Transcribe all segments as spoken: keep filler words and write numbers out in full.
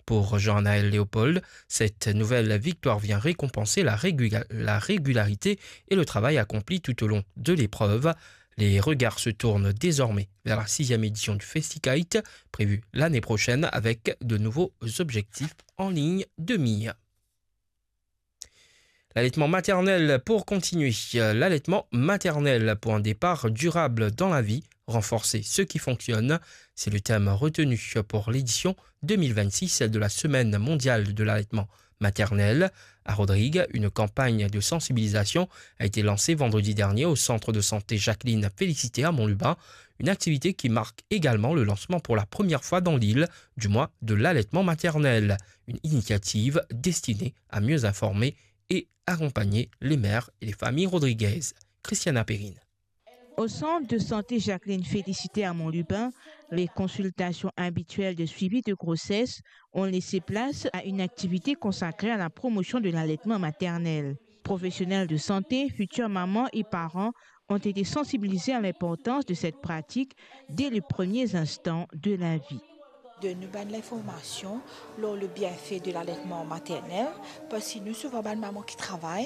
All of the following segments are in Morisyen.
Pour Jean-Naël Léopold, cette nouvelle victoire vient récompenser la régula-, la régularité et le travail accompli tout au long de l'épreuve. Les regards se tournent désormais vers la sixième édition du Festikite, prévue l'année prochaine avec de nouveaux objectifs en ligne de mire. L'allaitement maternel pour continuer. L'allaitement maternel pour un départ durable dans la vie, renforcer ce qui fonctionne, c'est le thème retenu pour l'édition deux mille vingt-six de la Semaine mondiale de l'allaitement maternel. À Rodrigues, une campagne de sensibilisation a été lancée vendredi dernier au centre de santé Jacqueline Félicité à Mont-Lubin, une activité qui marque également le lancement pour la première fois dans l'île du mois de l'allaitement maternel, une initiative destinée à mieux informer et accompagner les mères et les familles rodriguaises. Christiana Perrine. Au centre de santé Jacqueline Félicité à Mont-Lubin, les consultations habituelles de suivi de grossesse ont laissé place à une activité consacrée à la promotion de l'allaitement maternel. Professionnels de santé, futures mamans et parents ont été sensibilisés à l'importance de cette pratique dès les premiers instants de la vie. Donn nou bann linformasion lor le bienfe de laletman maternel, parski nou souvan bann maman ki travay,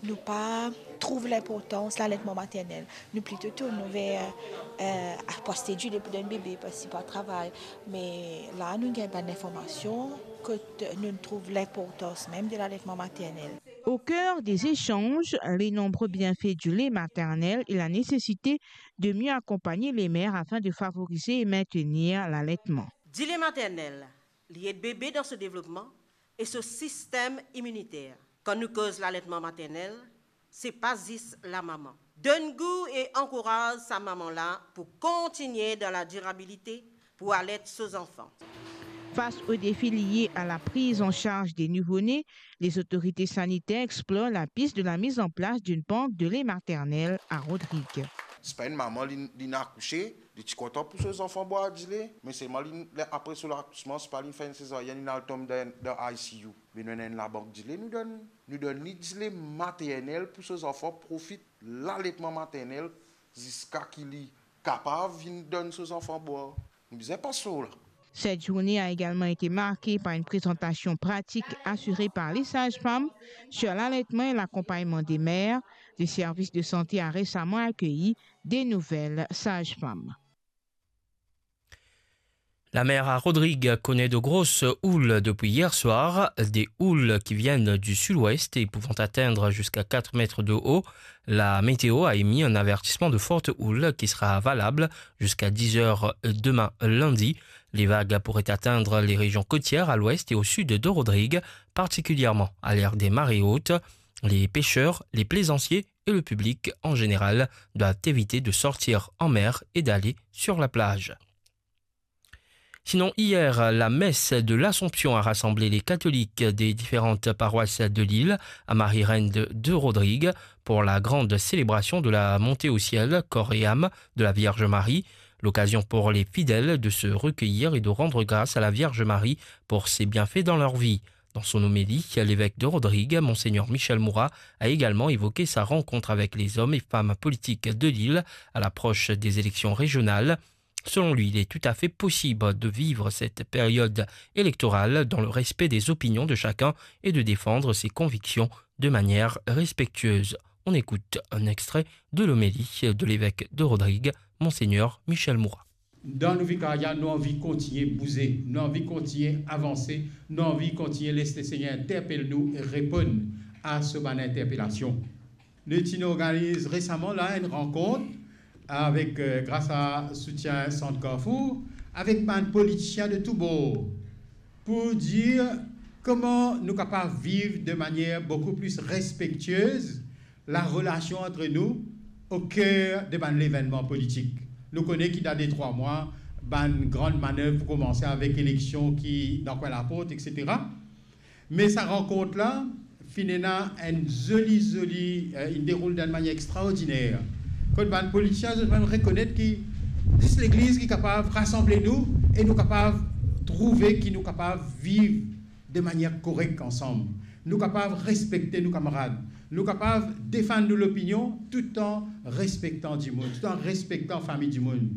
nou pa trouv linportans laletman maternel. Nou plito tourn nou ver, eh, aste dile pou donn bebe, parski pa travay. Me la, nou gagn bann linformasion kot nou trouv linportans mem de laletman maternel. Au cœur des échanges, les nombreux bienfaits du lait maternel et la nécessité de mieux accompagner les mères afin de favoriser et maintenir l'allaitement. Dile maternel, li ed bebe dan so devlopman e so sistem iminiter. Kan nou koz laletman maternel, se pa zis lamama. Donn gou e ankouraz sa mama la pou kontigne dan ladirabilite pou alet so zanfan. Face aux défis liés à la prise en charge des nouveau-nés, les autorités sanitaires explorent la piste de la mise en place d'une banque de lait maternel à Rodrigues. Se pa enn mama, li, li akouse, li ti kontan pou so zanfan bwar dile, me selman li, apre so lakousman, se pa li fer enn sezaryenn, li al tom dan, dan I C U. Me nou ena enn labank dile, nou donn, nou donn li dile maternel pou so zanfan profit laletman maternel ziska ki li kapav vinn donn so zanfan bwar. Nou bizin pas par la. Cette journée a également été marquée par une présentation pratique assurée par les sages-femmes sur l'allaitement et l'accompagnement des mères. Le service de santé a récemment accueilli des nouvelles sages-femmes. La mer à Rodrigues connaît de grosses houles depuis hier soir, des houles qui viennent du sud-ouest et pouvant atteindre jusqu'à quatre mètres de haut. La météo a émis un avertissement de forte houle qui sera valable jusqu'à dix heures demain lundi. Les vagues pourraient atteindre les régions côtières à l'ouest et au sud de Rodrigues, particulièrement à l'heure des marées hautes. Les pêcheurs, les plaisanciers et le public en général doivent éviter de sortir en mer et d'aller sur la plage. Sinon, hier, la messe de l'Assomption a rassemblé les catholiques des différentes paroisses de l'île à Marie-Reine de, de Rodrigues pour la grande célébration de la montée au ciel, corps et âme, de la Vierge Marie. L'occasion pour les fidèles de se recueillir et de rendre grâce à la Vierge Marie pour ses bienfaits dans leur vie. Dans son homélie, l'évêque de Rodrigues, Monseigneur Michel Moura, a également évoqué sa rencontre avec les hommes et femmes politiques de l'île à l'approche des élections régionales. Selon lui, il est tout à fait possible de vivre cette période électorale dans le respect des opinions de chacun et de défendre ses convictions de manière respectueuse. On écoute un extrait de l'homélie de l'évêque de Rodrigues, Monseigneur Michel Moura. Dan nou vikaria, nou anvi kontigne bouze, nou anvi kontigne avanse, nou anvi kontigne les Lesegner interpel nou e reponn a so bann interpelasion. Nou ti inn organiz resaman la enn rankont avek, eh, gras a soutien Sant Carrefour, avek bann politisien de tou bor, pou dir kouma nou kapav viv de manier boukou pli respektiez la relasion ant nou o ker de bann levennman politik. Nou kone ki dan de trwa mwa, bann gran manev pou koumanse avek eleksion ki dan kwin laport, etsetera. Me sa rankont la finn ena enn zoli, zoli, eh, inn deroul dan enn manier extraordiner. Kot bann politisien, zot mem rekonet ki zis Legliz ki kapav rasanble nou e nou kapav trouve ki nou kapav viv de manier korek ansam. Nou kapav respekte nou kamarad. Nou kapav defann nou lopinion toutan respektan dimoun, toutan respektan fami dimoun.